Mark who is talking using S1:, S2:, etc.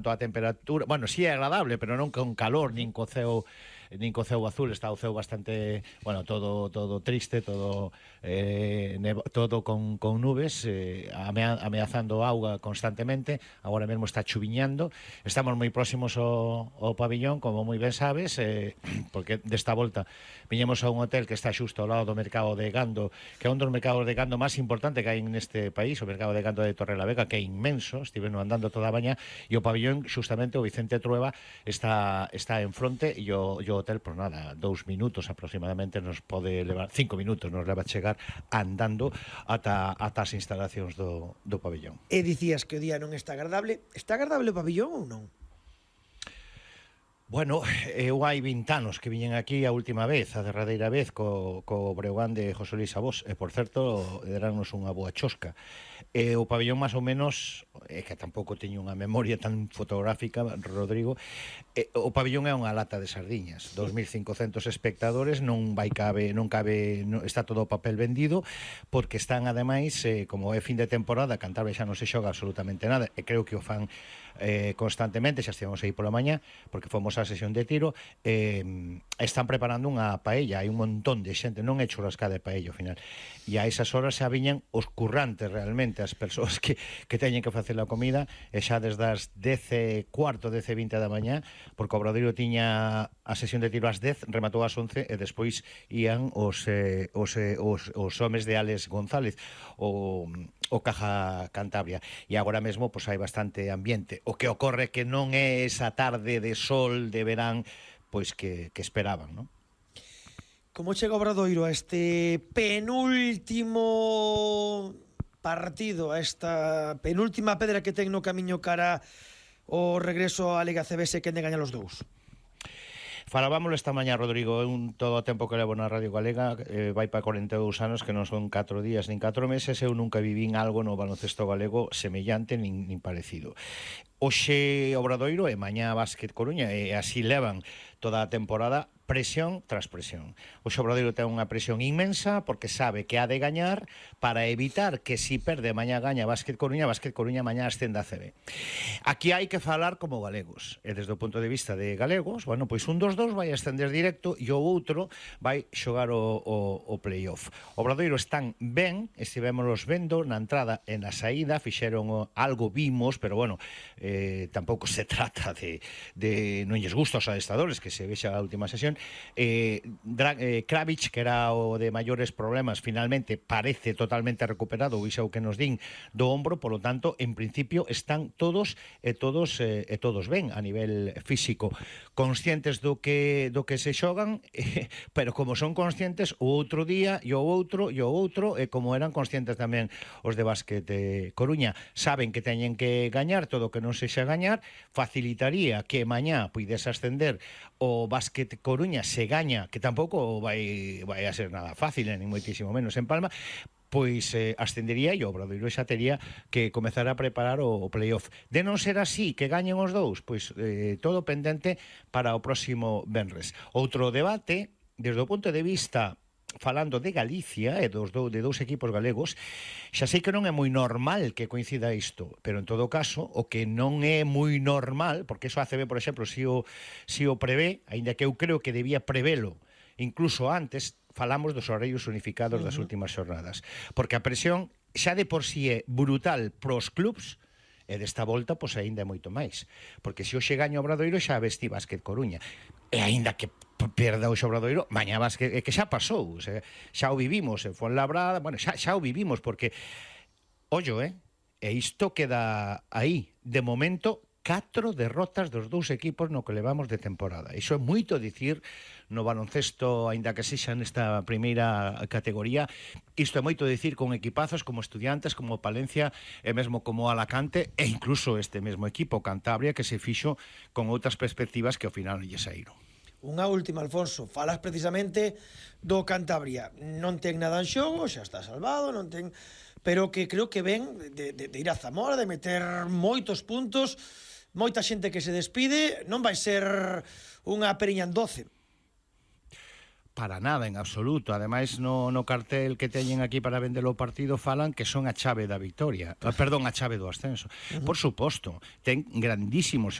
S1: a temperatura, bueno, si é agradable, pero non con calor, nin co ceo azul, está o ceo bastante, bueno, todo triste, todo todo con nubes, ameazando auga constantemente. Agora mesmo está chuviñando. Estamos moi próximos ao pabillón, como moi ben sabes, porque desta volta viñemos a un hotel que está xusto ao lado do mercado de gando, que é un dos mercados de gando máis importante que hai neste país, o mercado de gando de Torrelavega, que é inmenso. Estiveno andando toda a mañá, e o pabillón, xustamente o Vicente Trueba está en fronte, e o hotel, por nada, 2 minutos aproximadamente nos pode levar, 5 minutos nos leva a chegar andando ata as instalacións do pabillón.
S2: E dicías que o día non está agradable. Está agradable o pabillón ou non?
S1: Bueno, eu hai 20 anos que viñen aquí a última vez, a derradeira vez, co Breogán de José Luis Abós, e por certo, derannos unha boa chosca. O pabillón máis ou menos, que tampouco teño unha memoria tan fotográfica, Rodrigo, o pabillón é unha lata de sardiñas, 2.500 espectadores, non cabe, está todo o papel vendido, porque están ademais, como é fin de temporada, Cantabria xa non se xoga absolutamente nada, e creo que o fan constantemente, xa estivemos aí pola mañá, porque fomos á sesión de tiro, están preparando unha paella, hai un montón de xente, non é churrascada de paella ao final, e a esas horas xa viñan os currantes realmente, as persoas que teñen que facer a comida, e xa desde as 10:15, 10:20 da mañá, porque o Obradoiro tiña a sesión de tiro ás 10, rematou ás 11, e despois ían os homes de Alex González, o Caja Cantabria, e agora mesmo pois hai bastante ambiente. O que ocorre que non é esa tarde de sol de verán pois que esperaban, non?
S2: Como chega o Obradoiro a este penúltimo partido, a esta penúltima pedra que ten no camiño cara o regreso á Liga CB, que de gañar os dous?
S1: Falábamoslo esta mañá, Rodrigo, todo o tempo que levo na Radio Galega, vai para 42 anos, que non son 4 días nin 4 meses, eu nunca vivín algo no baloncesto galego semellante nin parecido. Hoxe Obradoiro e mañá Básquet Coruña, e así levan toda a temporada, presión tras presión. O Obradoiro ten unha presión inmensa porque sabe que ha de gañar para evitar que si perde mañá gaña Básquet Coruña mañá ascende a CB. Aquí hai que falar como galegos, e desde o punto de vista de galegos, bueno, pois un dos dous vai ascender directo e o outro vai xogar o playoff. O Obradoiro están ben, estivémonos vendo na entrada e na saída, fixeron algo, vimos, pero bueno, tampouco se trata de non lles gusta aos adestradores que se vexa a última sesión. Kravic, que era o de maiores problemas, finalmente parece totalmente recuperado, iso é o que nos din do ombro, polo tanto, en principio están todos ben a nivel físico, conscientes do que se xogan, pero como son conscientes o outro día e o outro, e como eran conscientes tamén os de Básquet Coruña, saben que teñen que gañar, todo o que non sexa gañar facilitaría que mañá puidese ascender o Básquet Coruña, se gaña, que tampouco vai a ser nada fácil, nin moitísimo menos en Palma, pois ascendería e o Obradoiro xa tería que comezar a preparar o playoff. De non ser así, que gañen os dous, pois todo pendente para o próximo venres. Outro debate, desde o punto de vista falando de Galicia e de dous equipos galegos, xa sei que non é moi normal que coincida isto, pero en todo caso, o que non é moi normal, porque iso a ACB, por exemplo, si o prevé, aínda que eu creo que debía prevelo incluso antes, falamos dos horarios unificados das últimas xornadas, porque a presión xa de por si é brutal pros clubs, e desta volta, pois aínda é moito máis, porque se hoxe gaña o Obradoiro xa vesti Básquet Coruña, e aínda que perda o Obradoiro, mañá Básquet, que xa pasou, xa o vivimos en Fuenlabrada, bueno, xa o vivimos, porque ollo, e isto queda aí, de momento 4 derrotas dos dous equipos no que levamos de temporada. Iso é moito dicir no baloncesto, aínda que sexa nesta primeira categoría. Isto é moito dicir con equipazos como Estudiantes, como Palencia e mesmo como Alacante, e incluso este mesmo equipo, Cantabria, que se fixo con outras perspectivas que ao final non lle saíron.
S2: Unha última, Alfonso, falas precisamente do Cantabria. Non ten nada en xogo, xa está salvado, non ten, pero que creo que ven de ir a Zamora, de meter moitos puntos, moita xente que se despide, non vai ser unha periña en 12.
S1: para nada, en absoluto. Ademais, no cartel que teñen aquí para vender o partido falan que son a chave da victoria. Perdón, a chave do ascenso. Por suposto, ten grandísimos